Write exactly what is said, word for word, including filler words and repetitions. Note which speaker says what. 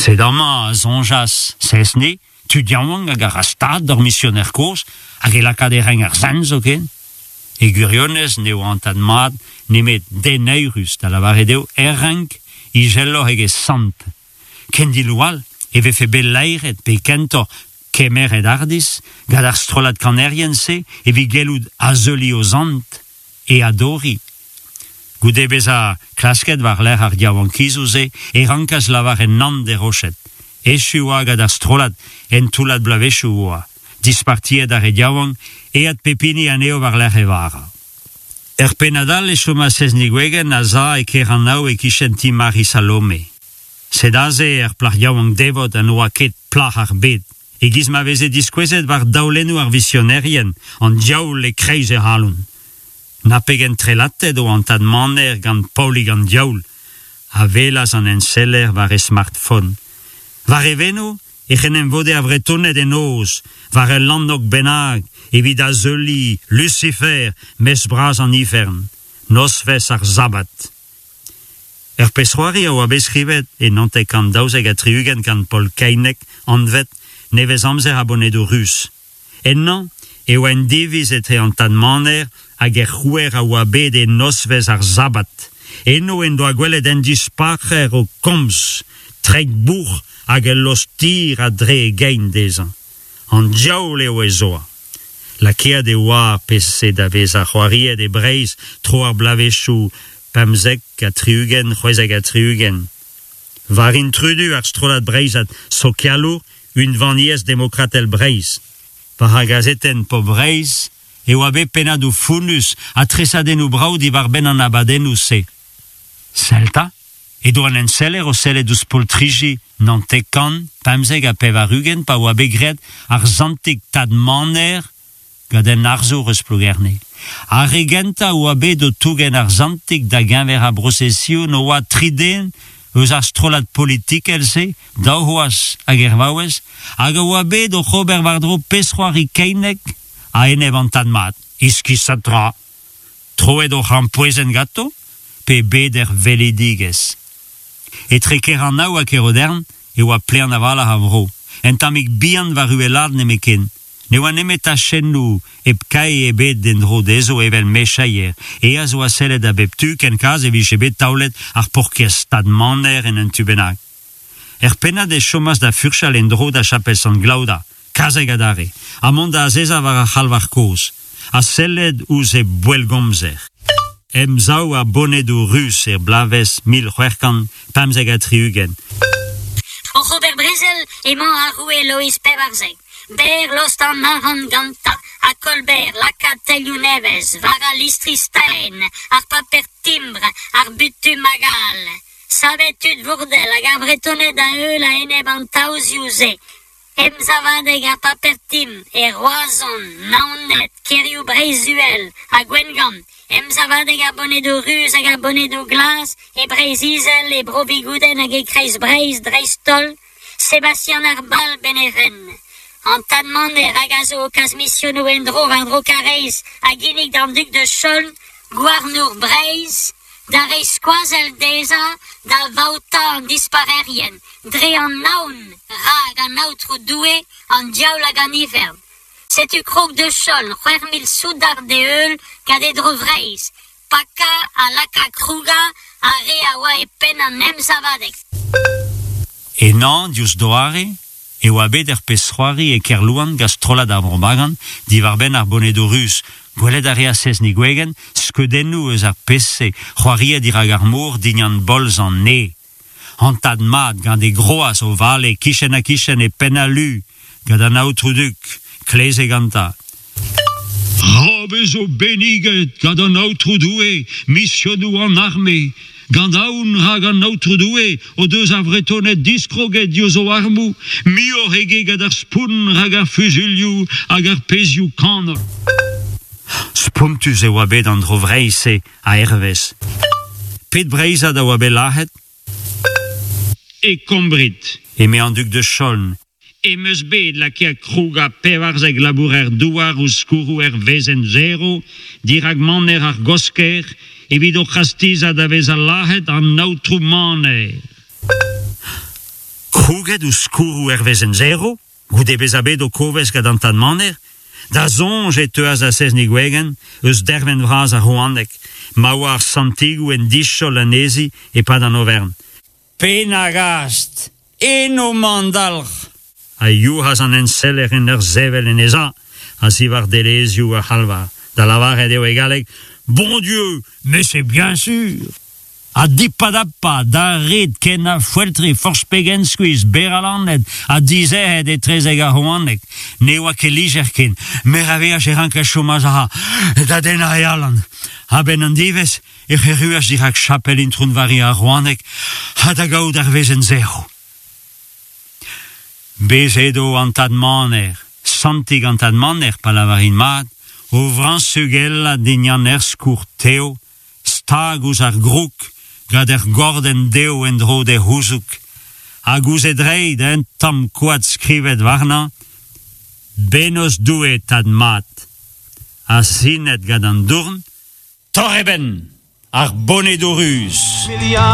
Speaker 1: Sed amañ, a soñjas Sezni, tud yaouank hag a ra stad d'ur misioner kozh, hag e lakaat e renk ar sent zoken. E gwirionez n'eo an tad mat nemet den eürus, da lavaret eo er renk izeloc'h eget sant. Ken dillo all e vefe bet laeret pe kentoc'h kemeret hardizh gant ar strollad kanerien-se evit gellout azeuliñ o sant e adoriñ. Goude bezañ klasket war-lerc'h ar yaouankizoù-se e rankas lavaret nann d'e roched. Echu oa gant ar strollad un toullad bloavezhioù oa. Dispartiet ar re yaouank, aet pep hini anezho war-lerc'h e vara. Er pennad all e chomas Sezni Gwegen a-za e Keranaou e-kichen ti Mari Salome. Sed aze ur plac'h yaouank devot ha n'oa ket plac'h ar bed. E-giz ma veze diskouezet war daolennoù ar visionerien, an diaoul e-kreiz he c'halon. Na pegen trelatet oa an tad Maner gant Paolig an Diaoul, a welas an enseller war e smartphone. War e veno ec'h en em vode ar Vretoned en noz, war ul lanneg bennak, evit azeuliñ Lucifer, mestr bras an ifern, nozvezh ar sabbat. Ur pezh-c'hoari a oa bet skrivet e naontek kant daouzek ha tri-ugent gant Paol Keineg, anvet Nevez-amzer ar Bonedoù Ruz. Ennañ e oa un diviz etre an tad Maner hag er c'houer a oa bet e nozvezh ar sabbat. Eno en doa gwelet un dispac'her o komz, treid bouc'h hag ul lost dir a-dre e gein dezhañ. An diaoul eo ez oa. Lakaet e oa ar pezh-se da vezañ c'hoariet e Breizh tro ar bloavezhioù pemzek ha tri-ugent, c'hwezek ha tri-ugent. War intrudu ar strollad breizhat sokialour Unvaniezh Demokratel Breizh. War ar gazetenn Pobl Breizh e oa bet pennadoù fonnus ha tresadennoù brav diwar-benn an abadennoù-se. Sell 'ta, edo an enseller o sellet ouzh poltriji naontek kant pemzek ha pevar-ugent pa oa bet graet ar santig Tad Maner gant un arzour eus Plougerne. Ar re gentañ a oa bet o tougen ar santig da geñver ar brosesion oa tri den eus ar strollad politikel-se, daou c'hoaz hag ur vaouez, hag a oa bet oc'h ober war-dro pezh-c'hoari Keineg a-enep an tad mat. Iskisat tra. Troet o c'hrampouezhenn ganto, pe bet er weledigezh. Etre Keranaou ha Kerodern e oa plaen a-walc'h ar vro. Un tammig bihan war uhelaat nemetken. Ne oa nemet tachennoù hep kae ebet en-dro dezho evel mecheier. Aes oa sellet a bep tu ken kaz e vije bet taolet ar paourkaezh Tad Maner en un tu bennak. Er pennad e chomas da furchal en-dro da chapel Sant Glaoda, kazeg adarre, ha mont da azezañ war ar c'halvar kozh, ha sellet ouzh e boellgomzer. Emsav ar Bonedoù Ruz er bloavezh mil c'hwec'h kant pemzek ha tri-ugent.
Speaker 2: Oc'h ober brezel emañ ar roue Loeiz Pevarzek. Berr lost an arc'hant gantañ, ha Colbert lakaat tailhoù nevez war al listri staen, ar paper timbr, ar butum hag all. Savet tud Bourdel hag ar Vretoned da heul a-enep an taozioù-se. Emsavadeg ar paper timbr e Roazhon, Naoned, kêrioù Breizh-Uhel ha Gwengamp. Emsavadeg ar Bonedoù Ruz hag ar Bonedoù Glas e Breizh-Izel, e Bro-Vigoudenn hag e Kreiz-Breizh dreist-holl. Sebastian ar Balb en e ren. An tad Maner hag a zo o kas misionoù en-dro war-dro Karaez a ginnig d'an dug de Chaulnes, gouarnour Breizh, da reiñ skoazell dezhañ da vaotañ an dispac'herien, dre an aon rak an Aotrou Doue, an diaoul hag an ifern. Setu krog de Chaulnes, c'hwec'h mil soudard d'e heul gant e dro Vreizh, pakañ ha lakaat krougañ ar re a oa e penn an emsavadeg.
Speaker 1: Ennañ, diouzh doare, e oa bet ur pezh-c'hoari e Kerlouan gant strollad ar Vrobagan diwar-benn ar Bonedoù Ruz. Gwelet a reas Sezni Gwegen skeudennoù eus ar pezh-se, c'hoariet dirak ar mor dindan bolz an ne. An tad mat gant e groaz o vale kichen-ha-kichen e penn al lu, gant an aotrou duk, kleze gantañ. Ra vezo benniget gant an aotrou Doue, misionoù an arme, gant aon rak an aotrou Doue o deus ar Vretoned diskroget diouzh o armoù, muioc'h eget gant ar spont rak ar fuzuilhoù hag ar pezhioù kanol. Spontus e oa bet an dro Vreizh-se a-hervez. Pet Breizhad a oa bet lazhet? E Kombrid, eme an dug de Chaulnes, em eus bet lakaet krougañ pevarzek labourer douar ouzh skourroù ur wezenn zero dirak maner ar Gosker evit o c'hastizañ da vezañ lazhet an aotrou Maner. Krouget ouzh skourroù er wezenn zero, goude bezañ bet o kovez gant an tad Maner, da soñj e teuas da Sezni Gwegen eus dervenn vras ar Rouaneg, ma oa ar santigoù en dichol anezhi e-pad an overn. Penagast, eno 'mañ an dalc'h! A youc'has an enseller en ur sevel en e sav a-ziwar delezioù ar c'halvar, da lavaret eo e galleg, Bon Dieu, mais c'est bien sûr! Ha dipadapa, d'ar red ken a foeltre forzh pegen skuizh, berralanet ha dizec'het etrezek ar Rouaneg. Ne oa ket lijer ken, meur a wech e rankas chom a-sav da dennañ e alan. A-benn an diwezh ec'h erruas dirak chapel Intron Varia ar Rouaneg ha da gaout ar wezenn zero. Bez' edo an tad Maner, santig an tad Maner pa lavarin mat, o vrañsugellat dindan ur skourr tev, stag ouzh ar groug, gant ur gordenn dev en-dro d'e c'houzoug, hag ouzh e dreid un tamm koad skrivet warnañ, Bennozh Doue tad mat, ha sinet gant an dourn, Torr e benn, ar bonedoù ruz.